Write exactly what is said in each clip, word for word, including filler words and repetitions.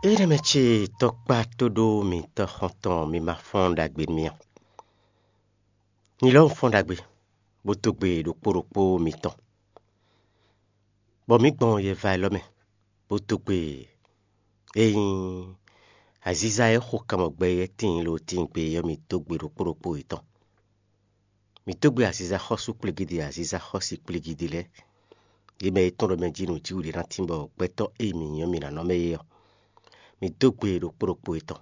Énɛ́ mɛ ce tɔkpá tóɖó mitɔ́ xɔ́ntɔn mi ma fɔ́n ɖagbe nú mì a? Mi lɔ́ un fɔ́n ɖagbe, bó dó gbe ɖokpó ɖokpó mitɔn, bɔ mǐ gbɔn yɛva élɔ́ mɛ, bó dó gbe e nyí aziza e xo kanmɔgbɛ e tíin lo tíin gbe ɔ́, mi dó gbe ɖokpó ɖokpó yětɔn. Mi dó gbe aziza xɔ́sú kplígídí, aziza xɔ́si kplígídí lɛ́ɛ, yě mɛ e tɔ́n ɖɔ mɛ jí nǔjíwǔ ɖé ná tín bɔ gbɛtɔ́ e mi nyí ɔ́ mi ná nɔ mɛ é ɔ́, mi dó gbe ɖokpó ɖokpó yětɔn,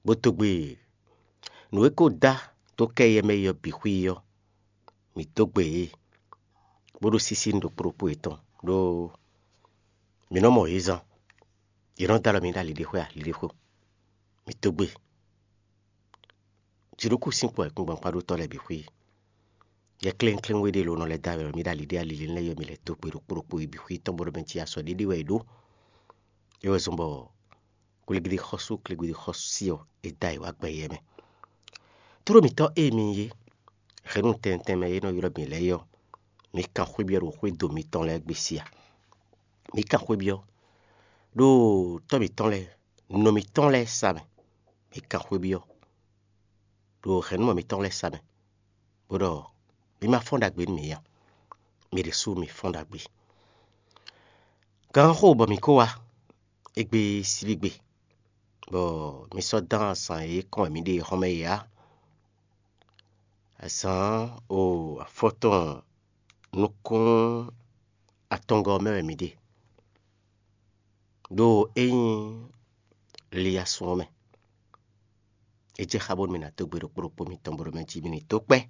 bó dó gbe nǔ e ko dá dó kɛ éyɛ́ mɛ é ɔ́ bǐ xwí ɔ́, mi dó gbe yě, bó ɖó sísí nú ɖokpó ɖokpó yětɔn, ɖó mǐ nɔ mɔ yě zán; yě nɔ dó alɔ mì ɖó aliɖéxwé aliɖéxwé. Mi dó gbe. Jǐnukúnsin kpó ayǐkúngban kpá ɖó tɔ́ lɛ́ɛ bǐ xwí. Yɛ klɛ́nklɛ́n we ɖé ló nɔ lɛ́ dó alɔ mì ɖó aliɖé alilí lɛ́ɛ ɔ́, mi lɛ́ dó gbe ɖokpó ɖokpó yi bǐ xwí tɔn, bó ɖɔ mɛ jí asɔ ɖé ɖé wɛ è ɖó. É wɛ zɔ́n bɔ kligidi xɔ́sú kligidi xɔ́sú ɔ́, è da yě wá gbɛ yɛ mɛ. Tlóló mǐtɔn e mi nyí é, hɛ̌nnu tɛntɛn mɛ e nɔ ylɔ́ mǐ lɛ́ɛ é ɔ́, mi kan xwébyɔ́ ɖo xwédo mitɔn lɛ́ɛ gbe sí a? Mi kan xwébyɔ́ ɖo tɔ́ mǐtɔn lɛ́ɛ, nɔ mǐtɔn lɛ́ɛ sa mɛ; mi kan xwébyɔ́ ɖo hɛ̌nnumɔ mitɔn lɛ́ɛ sa mɛ, bó ɖɔ mi ma fɔ́n ɖagbe nú mǐ a? Mi ɖésú mi fɔ́n ɖagbe. Gǎnxó bɔ mǐ kó wá égbé síbígbe, bɔ mi sɔ́ dán azǎn e kɔn wɛ mǐ ɖe é xɔ́mɛ é ǎ. Azǎn o afɔtɔn nukún atɔngɔ́ ɔ́ mɛ wɛ mǐ ɖe, ɖó é nyí liyasun ɔ́ mɛ. É jɛ xá bónú mì nǎ dó gbe ɖokpó ɖokpó mitɔn bó ɖɔ mɛ jí mi ní dó kpɛ́,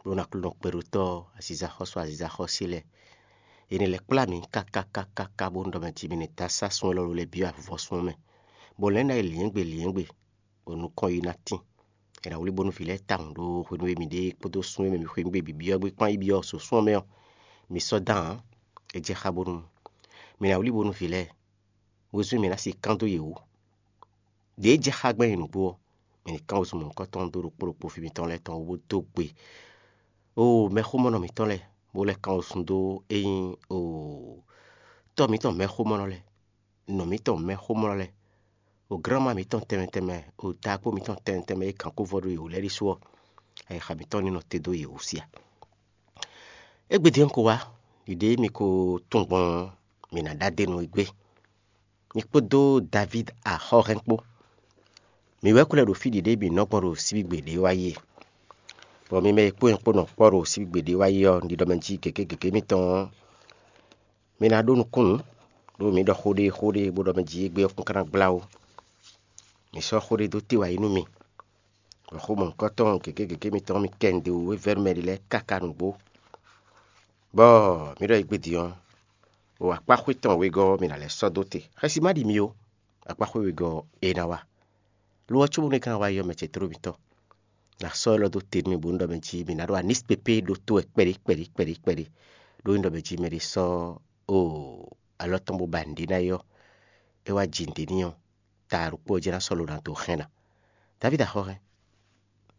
bónú Aklúnɔ kpɛɖótɔ́ aziza xɔ́sú aziza xɔ́sí lɛ́ɛ, è nǐ lɛ́ kplá mǐ káká káká ká bónú ɖɔ mɛ jí mi ní dó asá sun élɔ́ lɛ́ɛ byɔ́ avivɔsun ɔ́ mɛ, bɔ lɛ̌ ná yi lyɛ̌ngbe lyɛ̌ngbe, bɔ nukɔn yi ná tín. È nǎ wlí bónú vǐ lɛ́ɛ tawun ɖó hwenu e mǐ ɖe kpódó sun e mɛ mǐ xweyǐgbe bǐ byɔ́ gbé kpán yi byɔ́ sosún ɔ́ mɛ ɔ́, mi sɔ́ dán ǎ. É jɛ xá bónú mǐ ná wlí bónú vǐ lɛ́ɛ wezun e mǐ ná sixú kán dó yě wú. Ɖě e jɛ xá gbɛn nyi nǔgbó ɔ́, mǐ ní kán wezun mɔ̌hunkɔtɔn dó ɖokpó ɖokpó fí mitɔn lɛ́ɛ tɔn wú bó dó gbe oo mɛxómɔnɔ mǐtɔn lɛ́ɛ, bó lɛ́ kán wezun dó é nyí oo tɔ́ mǐtɔn mɛxómɔnɔ lɛ́ɛ, nɔ mǐtɔn mɛxómɔnɔ lɛ́ɛ, o glánma mǐtɔn tɛnmɛ tɛnmɛ, o taakpó mǐtɔn tɛnmɛ tɛnmɛ e gǎn kó vɔ ɖó yě wú lɛ́ɛ ɖésú ɔ́, ayixa mǐtɔn ní nɔ te dó yě wú sí a? Égbé din ɔ́ ko wá, ɖiɖe e mi ko tunwun gbɔn ɔ́, mǐ ná ɖó adenu égbé. Mi kpódó Davíd axɔ́hɛn kpó, mǐ wɛ ko lɛ́ ɖo fí ɖiɖe e mǐ nɔ gbɔn ɖo síbígbe ɖě wá yi e. Bɔ mi mɛ e kpó nyɛ kpó nɔ kpɔ́ ɖo síbígbe ɖě wá yi ɔ́, ɖiɖɔ mɛ jí gěgé gěgé mitɔn ɔ́, mi ná ɖó nukúnnú, ɖó mǐ ɖɔ xó ɖé xó ɖé bó ɖɔ mɛ jí égbé ɔ́ kún ka ná gbla ó. Mǐ sɔ́ xó ɖé dó te wá yi nú mi, bɔ xó mɔ̌hunkɔtɔn gěgé gěgé mitɔn ɔ́, mi kɛ nǔɖé wú e vɛ́ nú mɛ ɖé lɛ́ɛ káká nǔgbó. Bɔ mǐ ɖɔ égbé din ɔ́, o akpáxwé tɔn wegɔ́ ɔ́, mǐ ná lɛ́ sɔ́ dó te. Xɛsi ma ɖi mi ó, akpáxwé wegɔ́ ɔ́, é ná wá. Lo ɔ́, cóbónú é ka ná wá yi ɔ́, mɛ ce tlóló mǐtɔn, nǎ sɔ́ élɔ́ dó te nú mì bónú ɖɔ mɛ jí mǐ ná ɖó anísipépé ɖótó wɛ kpɛɖé kpɛɖé kpɛɖé kpɛɖé, ɖó nyí ɖɔ mɛ jí mɛɖé sɔ́ o alɔ tɔn bó ba nǔɖé ná é ɔ́, é wá ji nǔɖé n'i ɔ́, ta ɖokpó ɔ́ jɛ́n ná sɔ́ lo ná dó hɛn ná. Davídi axɔ́hɛn,